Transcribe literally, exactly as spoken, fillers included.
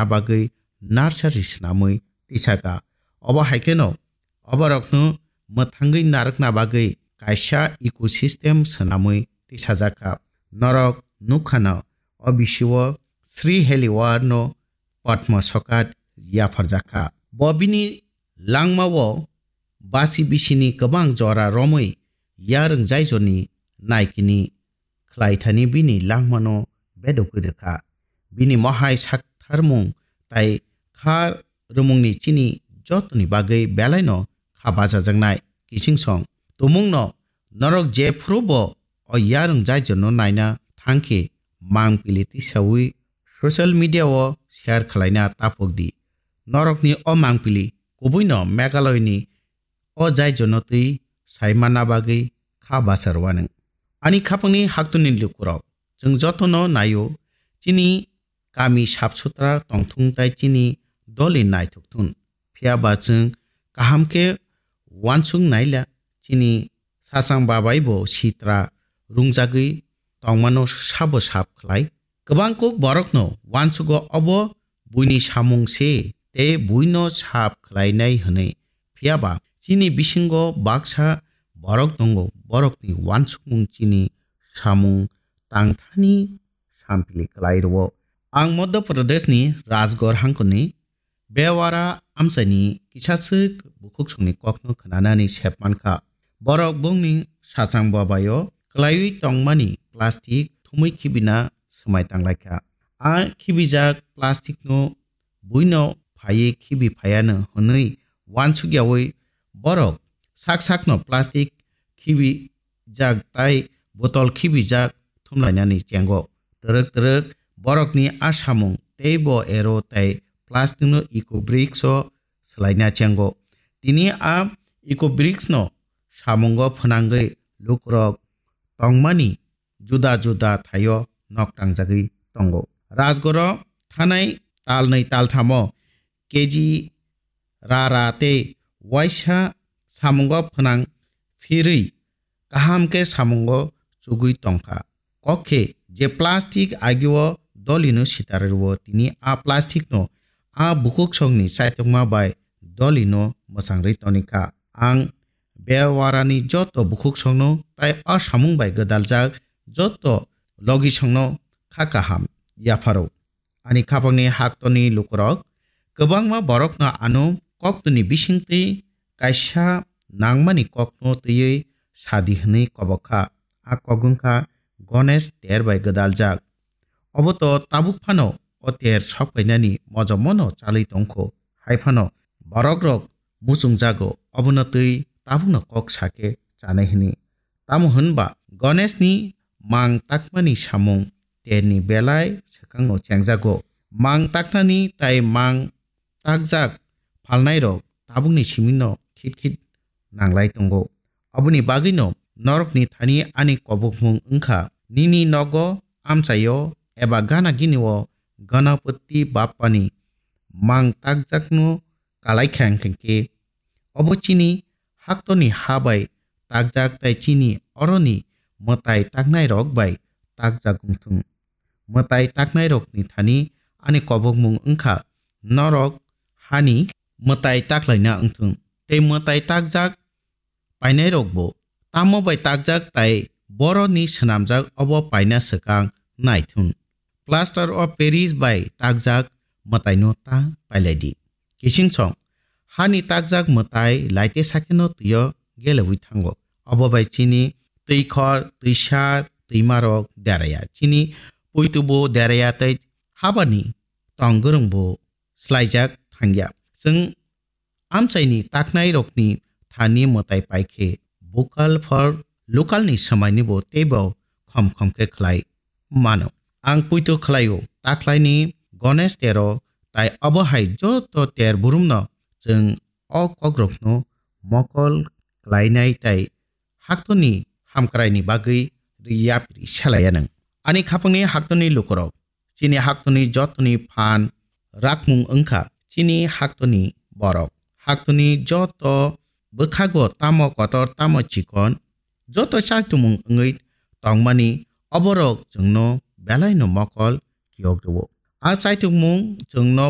bagwi nursery swnamwi tisaka. Obo hai kheno oborokno mwthangwi narwkna bagwi kaisa ecosystem swnamwi tisajakha. Norok nukha no, o bisio Sri Heliwar no Padma Sokat yapharjakha. Bo bini langmao basi bisini kwbang jora romwi yarwng jaijoni naikini khlaithani bini langmano bedokwi rwkha. Bini mohai saktharmung tai kha rwmungni chini jotoni bagwi belaino kha bachajaknai. Kichingsong tumungno norok jephuru bo o yarwng jaijono naina thangkhe mangpili tisawi social media o share khlaina tapok di. Norokni o mangpili kubuino Meghalaya ni o jaijono twi sai manna bagwi kha bachar wanang. Ani khapangni haktuni lukurok, chwng jotono naio, chini kami sap sutra tongthung tai chini doli naithok thun. Phiya ba chwng kaham khe uansuk naila, chini sachang babai bo sitra rungjagwi tongmano sabo sap khlai. Kwbang kuk borokno uansugo obo buini samung se tei buino sap khlainai hwnwi. Phiya ba chini bisingo baksa borok tongo, borokni uansukmung chini samung tangthani sampili klai rwo. Ang Madhya Pradeshni Rajgarh hangkoni Bewara amchaini kisaswk bukhuksongni kokno khnanani sep mankha. Borok bongni sachang babaio klaiwi tongmani plastic thumwi khibina swmai tanglaikha. A khibijak plasticno buino phaiwi khibi phaiano hwnwi uansukyawi borok sak sakno plastic khibi jak tai botol khibijak thumlainani chengo. Twrwk twrwk borokni a samung teibo ero tai plasticno eco bricks o swlaina chengo. Tini a eco bricks no samungo phwnangwi lukurok tongmani juda juda thaio nok tangjagwi tongo. Rajgoro thanai talnwi talthamo K G ra ra tei waisa samungo phwnang phirwi kaham khe samungo chugwi tongkha. Kok khe je plastic agio dolino sitar rwo tini a plastic no a bukhuksongni chaitokma bai dolino mwchangri tonikha. Ang Bewarani joto bukhuksongno tai a samung bai gwdaljak joto logisongno kha kaham yapharo. Ani khapangni haktorni lukurok kwbangma borokno ano koktwni bisingtwi kaisa nangmani kokno twiwi sadi hwnwi kobok kha. A kok wngkha Ganesh ter bai gwdaljak. Obo to tabuk phano o ter sok painani mojomono chalwi tongkho. Hai phano borokrok muchungjago, obono twi tabukno kok sakhe chanai hwnwi. Tamo hwnba Ganeshni mang takmani samung terni belai swkangno chengjago. Mang taknani tai mang takjak phalnairok tabukni simino khit khit nanglai tongo. Aboni bagwino norokni thani ani kobokmung wngkha, nini nogo, amchaio eba gana ginio Ganapati Bappani mang takjakno kalai kha hwnkhe, obo chini haktorni ha bai takjak tai chini oroni mwtai taknairok bai takjak wngthung. Mwtai taknairokni thani ani kobokmung wngkha, norok hani mwtai taklaina wngthung. Tei mwtai takjak painairokbo tamo bai takjak tai boroni swnamjak obo paina swkang naithun. Plaster of Paris bai takjak mwtaino ta pailaidi. Kichingsong hani takjak mwtai laite sakheno twio gelewi thango. Obo bai chini twikhor, twisa, twimarok deraya. Chini puitubo deraya tei habani tong gwrwngbo swlaijak thangya. Chwng amchaini taknairokni thani mwtai paikhe vocal for local ni swmainibo teibo khom khom khe khlai mano. Ang puito khlaio, taklaini Ganesh tero tai obo hai joto ter burumno chwng o kokrokno mokol klainai tai haktorni hamkraini bagwi ri yapri selaiya nwng. Ani khapangni haktorni lukurok, chini haktorni jotoni phan rakmung wngkha chini haktorni borok. Haktorni joto bwkhago tamo kotor tamo chikon, joto chaitumung wngwi tongmani oborok chwngno belaino mokol kiyok rwo. A chaithokmung chwngno